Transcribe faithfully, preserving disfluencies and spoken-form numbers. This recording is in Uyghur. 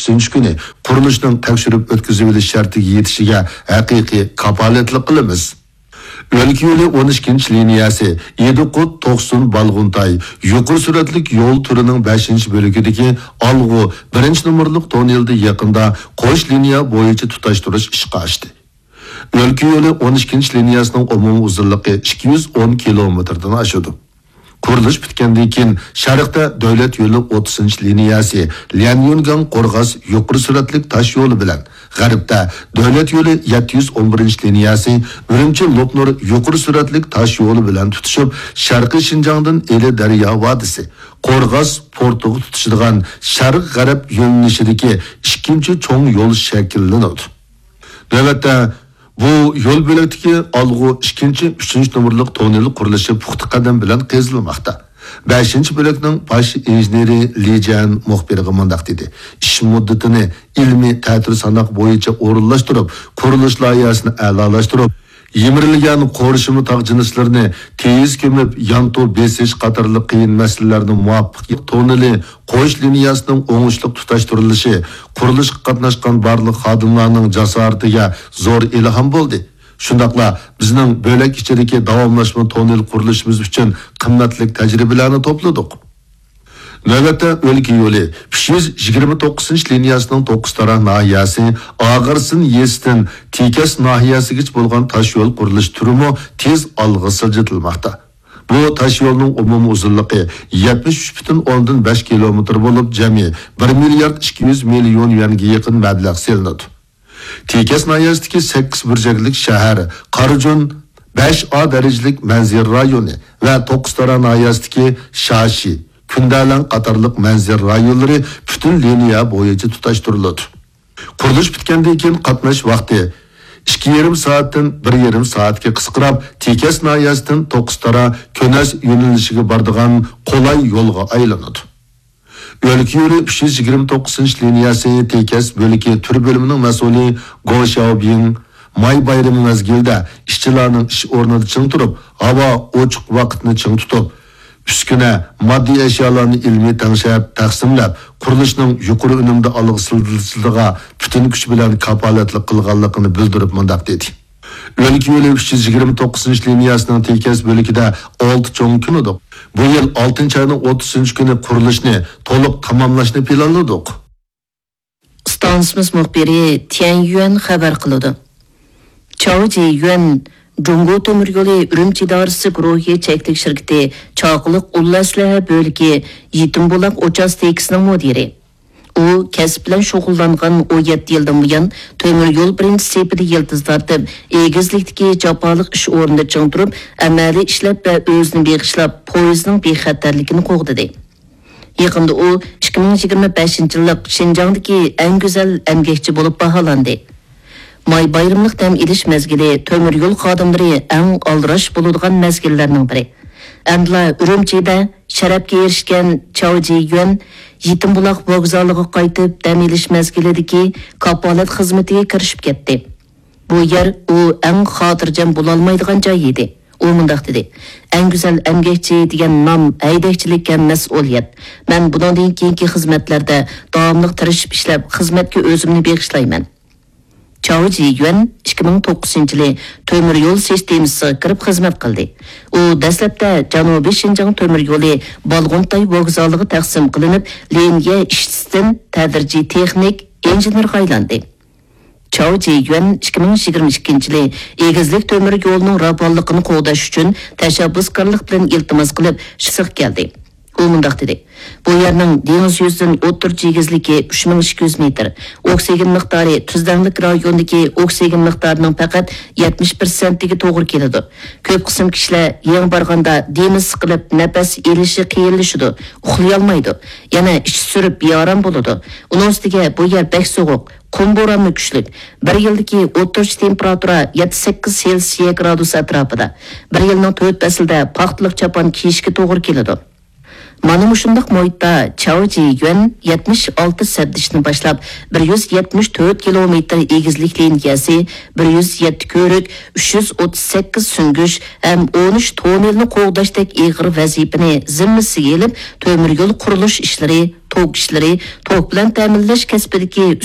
ئوتتۇزىنچى كۈنى قۇرۇلۇشنىڭ تەكشۈرۈپ ئۆتكۈزۈۋېلىش شەرتىگە يېتىشىگە ھەقىقىي كاپالەتلىك قىلىمىز. ئۆلكە يولى ئون ئىككىنچى لىنىيەسى ئىدىقۇت توقسۇن بالغۇنتاي يۇقىرى سۈرئەتلىك يول تۈرىنىڭ بەشىنچى بۆلىكىدىكى ئالغۇ بىرىنچى نومۇرلۇق توننېلدا يېقىندا قوش لىنىيە بويىچە تۇتاشتۇرۇش ئىشقا ئاشتى. ئۆلكە يولى ئون ئىككىنچى لىنىيەسىنىڭ ئومۇمىي ئۇزۇنلۇقى ئىككى يۈز ئون كىلومېتىردىن ئاشىدۇ. قۇرۇلۇش پۈتكەندىن كېيىن، شەرقتە دۆلەت يولى ئوتتۇزىنچى لىنىيەسى ليەنيۈنگاڭ قورغاس يۇقىرى سۈرئەتلىك تاش يولى بىلەن، غەربتە دۆلەت يولى يەتتە يۈز ئون بىرىنچى لىنىيەسى ئۈرۈمچى لوپنۇر يۇقىرى سۈرئەتلىك تاش يولى بىلەن تۇتىشىپ، شەرقىي شىنجاڭدىن ئىلى دەريا ۋادىسى، قورغاس پورتىغا تۇتىشىدىغان شەرق غەرب يۆنىلىشىدىكى ئىككىنچى چوڭ يول شەكىللىنىدۇ. نۆۋەتتە، بۇ يول بۆلەكتىكى ئالغۇ ئىككىنچى، ئۈچىنچى نومۇرلۇق توننېل قۇرۇلۇشى پۇختا قەدەم بىلەن قېزىلماقتا. بەشىنچى بۆلەكنىڭ باش ئىنژېنېرى لى جيەن مۇخبىرغا مۇنداق دېدى: «ئىش مۇددىتىنى ئىلمىي تەتۈر ساناق بويىچە ئورۇنلاشتۇرۇپ، قۇرۇلۇش لايىھەسىنى ئەلالاشتۇرۇپ، يىمىرىلگەن قورشىما تاغ جىنسلىرىنى تېيىز كۆمۈپ، يانتۇ بېسىش قاتارلىق قىيىن مەسىلىلەرنى مۇۋاپىق توننېلى قوش لىنىيەسىنىڭ ئوڭۇشلۇق تۇتاشتۇرۇلۇشى قۇرۇلۇشقا قاتناشقان بارلىق خادىملارنىڭ جاسارىتىگە زور ئىلھام بولدى. شۇنداقلا بىزنىڭ بۆلەك ئىچىدىكى داۋاملاشما توننېل قۇرۇلۇشىمىز ئۈچۈن قىممەتلىك تەجرىبىلەرنى توپلىدۇق.» نۆۋەتتە ئۆلكە يولى ئۈچ يۈز يىگىرمە توققۇزىنچى لىنىيەسىنىڭ توققۇزتارا ناھىيەسى ئاغارسىن يېزىسىدىن تېكەس ناھىيەسىگىچە بولغان تاش يول قۇرۇلۇش تۈرىمۇ تېز ئالغا سىلجىتىلماقتا. بۇ تاش يولنىڭ ئومۇمىي ئۇزۇنلۇقى يەتمىش ئۈچ پۈتۈن ئوندىن بەش كىلومېتىر بولۇپ، جەمئىي بىر مىليارد ئىككى يۈز مىليون يۈەنگە يېقىن مەبلەغ سېلىنىدۇ. تېكەس ناھىيەسىدىكى سەككىز بۇرجەكلىك شەھەر قارىجۇن بەش ئا دەرىجىلىك مەنزىرە رايونى ۋە توققۇزتارا ناھىيەسىدىكى شاشى، كۈندەلەڭ قاتارلىق مەنزىرە رايونلىرى پۈتۈن لىنىيە بويىچە تۇتاشتۇرۇلىدۇ. قۇرۇلۇش پۈتكەندىن كېيىن قاتناش ۋاقتى ئىككى يېرىم سائەتتىن بىر يېرىم سائەتكە قىسقىراپ، تېكەس ناھىيەسىدىن توققۇزتارا كۆنەس يۆنىلىشىگە بارىدىغان قولاي يولغا ئايلىنىدۇ. ئۆلكە يولى ئۈچ يۈز يىگىرمە توققۇزىنچى لىنىيەسى تېكەس بۆلىكى تۈر بۆلۈمىنىڭ مەسئۇلى گو شياۋبىڭ ماي بايرىمى مەزگىلىدە ئىشچىلارنىڭ ئىش ئورنىدا چىڭ تۇرۇپ، ھاۋا ئوچۇق ۋاقىتنى چىڭ تۇتۇپ، ئۈسكۈنە، ماددىي ئەشيالارنى ئىلمىي تەڭشەپ، تەقسىملەپ، قۇرۇلۇشنىڭ يۇقىرى ئۈنۈمدە ئالغا سىلجىتىلىشىغا پۈتۈن كۈچ بىلەن كاپالەتلىك قىلغانلىقىنى بىلدۈرۈپ مۇنداق دېدى: «ئۆلكە يولى ئۈچ يۈز يىگىرمە توققۇزىنچى لىنىيەسىنىڭ تېكەس بۆلىكىدە ئالتە چوڭ كۆل بولىدۇ. بۇ يىل ئالتىنچى ئاينىڭ ئوتتۇزىنچى كۈنى قۇرۇلۇشنى تولۇق تاماملاشنى پىلانلىدۇق.» ئىستانسىمىز مۇخبىرى تيەن يۈەن خەۋەر قىلىدۇ. چاۋ جى يۈەن جۇڭگو تۆمۈر يولى ئۈرۈمچى ئىدارىسى گۇرۇھى چەكلىك شىركىتى چاقىلىق ئۇل ئەسلىھە بۆلىكى يېتىم بۇلاق ئۇچاستكىسىنىڭ مۇدىرى. ئۇ كەسىپ بىلەن شۇغۇللانغان ئون يەتتە يىلدىن بۇيان، تۆمۈر يول بىرىنچى سېپىدە يىلتىز تارتىپ، ئېگىزلىكتىكى جاپالىق ئىش ئورنىدا چىڭ تۇرۇپ، ئەمەلىي ئىشلەپ ۋە ئۆزىنى بېغىشلاپ، پويىزنىڭ بىخەتەرلىكىنى قوغدىدى. يېقىندا ئۇ ئىككى مىڭ يىگىرمە بەشىنچى يىللىق شىنجاڭدىكى ئەڭ گۈزەل ئەمگەكچى بولۇپ باھالاندى. ماي بايرىملىق دەم ئېلىش مەزگىلى تۆمۈر يول خادىملىرى ئەڭ ئالدىراش بولىدىغان مەزگىللەرنىڭ بىرى. ئەمدىلا ئۈرۈمچىدە شەرەپكە ئېرىشكەن چاۋ جى يۈەن يېتىم بۇلاق ۋوگزالىغا قايتىپ دەم ئېلىش مەزگىلىدىكى كاپالەت خىزمىتىگە كىرىشىپ كەتتى. بۇ يەر ئۇ ئەڭ خاتىرجەم بولالمايدىغان جاي ئىدى. ئۇ مۇنداق دېدى: «ئەڭ گۈزەل ئەمگەكچى دېگەن نام ھەيدەكچىلىككە مەسئۇلىيەت. مەن بۇنىڭدىن كېيىنكى خىزمەتلەردە داۋاملىق تىرىشىپ ئىشلەپ، خىزمەتكە ئۆزۈمنى بېغىشلايمەن.» چاۋ جى يۈەن ئىككى مىڭ توققۇزىنچى يىلى تۆمۈر يول سىستېمىسىغا كىرىپ خىزمەت قىلدى. ئۇ دەسلەپتە جەنۇبىي شىنجاڭ تۆمۈر يولى بالغۇنتاي ۋوگزالىغا تەقسىم قىلىنىپ، لىنىيە ئىشچىسىدىن تەدرىجىي تېخنىك ئىنژېنېرغا ئايلاندى. چاۋ جى يۈەن ئىككى مىڭ يىگىرمە ئىككىنچى يىلى ئېگىزلىك تۆمۈر يولىنىڭ راۋانلىقىنى قوغداش ئۈچۈن تەشەببۇسكارلىق بىلەن ئىلتىماس قىلىپ، شىسىغا كەلدى. ئۇ مۇنداق دېدى: «بۇ يەرنىڭ دېڭىز يۈزىدىن ئوتتۇرىچە ئېگىزلىكى ئۈچ مىڭ ئىككى يۈز مېتىر، ئوكسىگېن مىقدارى تۈزلەڭلىك رايوندىكى ئوكسىگېن مىقدارىنىڭ پەقەت يەتمىش پىرسەنتىگە توغرا كېلىدۇ. كۆپ قىسىم كىشىلەر يېڭى بارغاندا دېمى سىقىلىپ، نەپەس ئېلىشى قىيىنلىشىدۇ، ئۇخلىيالمايدۇ، يەنە ئىچى سۈرۈپ بىئارام بولىدۇ. ئۇنىڭ ئۈستىگە بۇ يەر بەك سوغۇق، قۇم بورانمۇ كۈچلۈك. بىر يىلدىكى ئوتتۇرىچە تېمپېراتۇرا يەتتە سەككىز سېلسىيە گرادۇس ئەتراپىدا. بىر يىلنىڭ تۆت پەسلىدە پاختىلىق چاپان كىيىشكە توغرا كېلىدۇ.» مانا مۇشۇنداق مۇھىتتا چاۋ جىيۈەن يەتمىش ئالتە سەپدىشىنى باشلاپ، بىر يۈز يەتمىش تۆت كىلومېتىر ئېگىزلىك لىنىيەسى، بىر يۈز يەتتە كۆۋرۈك، ئۈچ يۈز ئوتتۇز سەككىز سۈڭگۈچ ھەم ئون ئۈچ توننېلنى قوغداشتەك ئېغىر ۋەزىپىنى زىممىسىگە ئېلىپ، تۆمۈر يول قۇرۇلۇش ئىشلىرى، توك ئىشلىرى، توك بىلەن تەمىنلەش كەسپىدىكى